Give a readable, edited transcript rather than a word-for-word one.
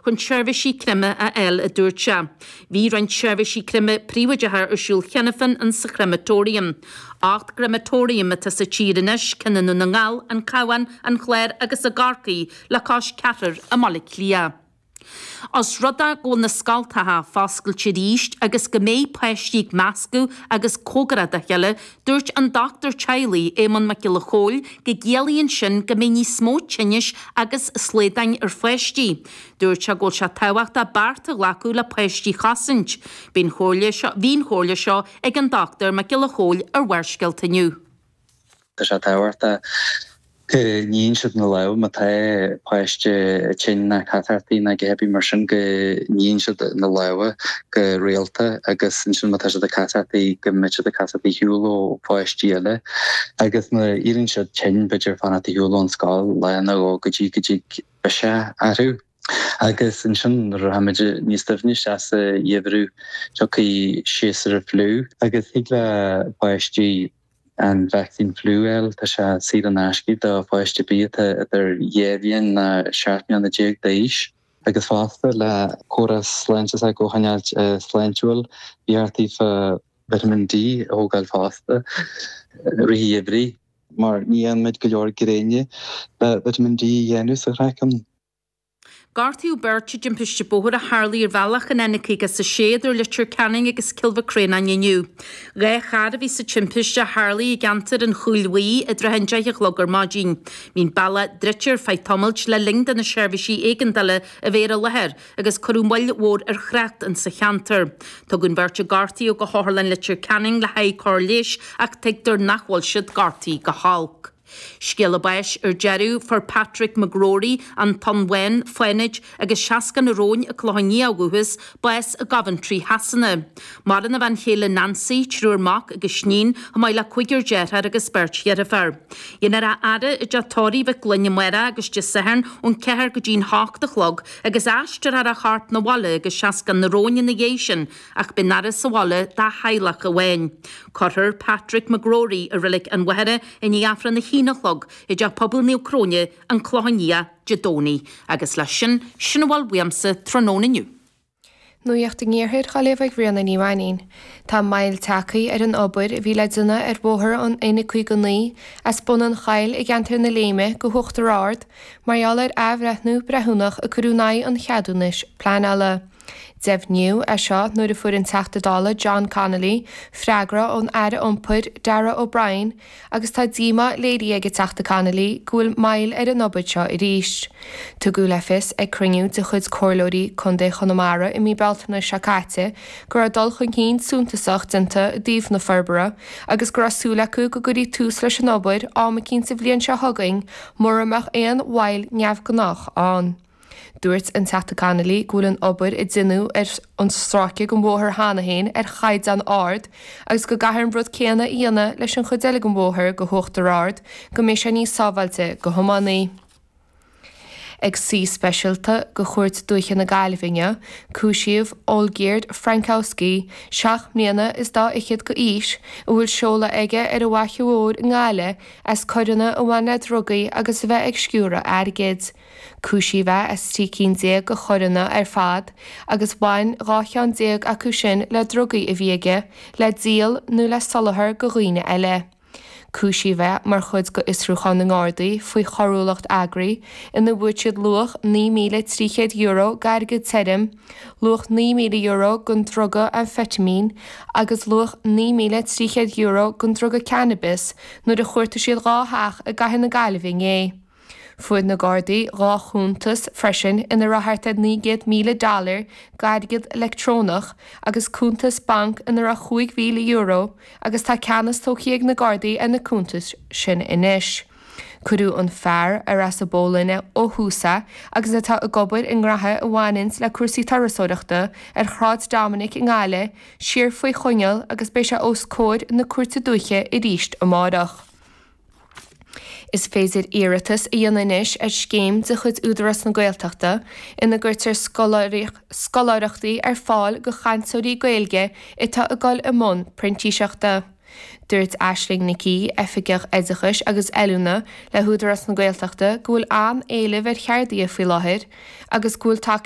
Chun seirbhísí creimthe a fháil, a dúirt sé. Bhí roinnt seirbhísí creimthe príobháideacha ar siúl cheana féin in sa chrematorium. 8 gcrematorium atá sa tír anois, ceann i nDún na nGall, an Cabhán, an Clár agus i gCorcaigh, le cois ceathrar i mBaile Átha Cliath. Os rud é go bhfuil na scoltacha foscailte arís agus go mbeidh páistí ag meascadh agus cóngarach dá chéile, dúirt an dochtúir teaghlaigh, Éamonn Mac Giolla Chóill, go gciallaíonn sin go mbeidh níos mó tinnis agus slaodáin ar pháistí. Dúirt sé go bhfuil sé tábhachtach bearta a ghlacadh le páistí a chosaint. Bhí an chomhairle seo bhí an chomhairle seo ag an Dr Mac Giolla Chóill ar Bharrscéalta inniu. Tá sé tábhachtach go níonn siad na lámha má tá páiste tinn ná catarthaí ná a dhath ar bith mar sin go níonn siad na lámha go rialta agus ansin má tá siad ag catarthaí go mbeidh siad ag catarthaí ar shiúl ó pháistí eile agus má éiríonn siad tinn b'fhéidir fanacht ar shiúl ón scoil lá nó dhó go dtí go dtig biseach orthu. Agus ansin nuair a rachaimid níos doimhne isteach sa gheimhreadh tiocfaidh séasúr an fliú agus thig le páistí an vacsaín fliú a fháil. Tá sé saor in aisce do pháiste ar bith atá idir 2 bhliain ná 17 mbliana d'aois. Agus fosta le córas sláinte s'acu a choinneáilt sláintiúil, ba cheart daofa Vitamin D a thógáil fosta i rith an gheimhridh mar ní fhaigheann muid go leor gréine le Vitamin D a dhéanamh sa chraiceann. Gortaíodh beirt i dtimpiste bóthair a tharlaigh ar bhealach an N56 idir Leitir Ceanainn agus Cill Mhic Réanáin inniu. 2 charr a bhí sa timpiste a tharlaigh i gceantar an Chúil Bhuí i dtrátha an 10 a chlog ar maidin. Bhí an bealach druidte ar feadh tamaill le linn do na seirbhísí éigeandála a bheith ar an láthair agus cuireadh moill mhór ar thrácht insa cheantar. Tugadh an bheirt a gortaíodh go hOtharlann Leitir Ceanainn le haghaidh cóir leighis ach tuigtear nach bhfuil siad gortaithe go holc. Scéala báis ar deireadh, fuair Patrick McGrory, An Tonn Bhán, Fánaid, agus Seascann an Róin, An Clochán Liath ó dhúchas, bás i gCoventry Shasana. Maireann a bhean chéile Nancy, triúr mac agus iníon, chomh maith le cúigear deartháir agus beirt dheirféar. Déanfar a fhaire i dTeach Tórraimh Mhic Gloinn amárach agus Dé Sathairn ón 4 go dtí'n 8 a chlog agus aistreofar a chorp 'na bhaile go Seascann na Róin ina dhiaidh sin ach beidh an fhaire sa bhaile dá theaghlach amháin. Cuirfear Patrick McGrory i Reilig an Mhachaire i ndiaidh Aifreann a haon a chlog i dTeach Pobail Naomh Cróine, An Clochán Liath, Dé Domhnaigh. Agus leis sin, sin a bhfuil uaimse tráthnóna inniu. Nuacht an Iarthair á léamh ag Ríona Ní Mhainín. Tá moill tagtha ar an obair a bhí le déanamh ar bhóthar an N59 as Bun an Choill i gceantar na Léime go hUachtar Ard mar gheall ar athbhreithniú breithiúnach a cuireadh in aghaidh an cheadúnais pleanála. Deimhníodh é seo nuair a fuair an Teachta Dála John Connolly freagra ón Aire Iompair Darragh O'Brien agus tá díomá léirithe ag an Teachta Connolly go bhfuil moill ar an obair seo arís. Tugadh le fios ag cruinniú de chuid Comhairleoirí Contae Chonamara i mí Bealtaine seo caite go raibh dul chun cinn suntasach déanta i dtaobh na forbartha agus go raibh súil acu go gcuirfí tús leis an obair am eicínt sa bhliain seo chugainn mura mbeadh aon mhoill neamhghnách ann. Dúirt an Teachta Connolly go bhfuil an obair a deineadh ar an stráice den bhóthar cheana féin ar chaighdeán ard agus go gcaithfear an rud céanna a dhéanamh leis an chuid eile den bhóthar go hUachtar Ard go mbeidh sé níos sábháilte do thiománaí. Ag suí speisialta de Chúirt Dúiche na Gaillimhe inniu, cúisíodh Olgierd Frankowski, seacht mbliana is dá fhichead d'aois, a bhfuil seoladh aige ar an bhFaiche Mhór i nGaillimh, as coireanna a bhain le drugaí agus a bheith ag sciúradh airgid. Cúisíodh é as 13 cinn de choireanna ar fad agus bhain 12 cheann acu sin le drugaí a bhí aige le díol nó le soláthar do dhaoine eile. Cúisíodh é mar chuid d'fhiosrúchán na nGardaí faoi choiriúlacht eagraithe ina bhfuair siad luach €9,300 d'airgead tirim, luach €9,000 den druga amfeitimín agus luach €9,300 den druga cannabis nuair a chuartaigh siad dhá theach i gcathair na Gaillimhe inné. Fuair na Gardaí 2 chuntas freisin ina raibh thart ar $900,000 dollar d'airgead leictreonach agus cuntas bainc ina raibh €5,000 agus tá ceannas tógtha ag na Gardaí ar na cuntais sin anois. Cuireadh an fear, ar as an bPólainn ó thús é agus atá ag obair i ngraithe a bhaineanns le cúrsaí turasóireachta ar Shráid Dominic i nGaillimh, siar faoi choinneáil agus beidh sé os comhair na Cúirte Dúiche arís amárach. Is féidir iarratas a dhéanamh anois ar scéim de chuid Údarás na Gaeltachta ina gcuirtear scoláireachtaí ar fáil do chainteoirí Gaeilge atá ag dul i mbun printíseachta. Dúirt Aisling Nic Aoidh, Oifigeach Oideachais agus Oiliúna le hÚdarás na Gaeltachta go bhfuil an-éileamh ar cheardaithe faoi láthair agus go bhfuil tacaíocht.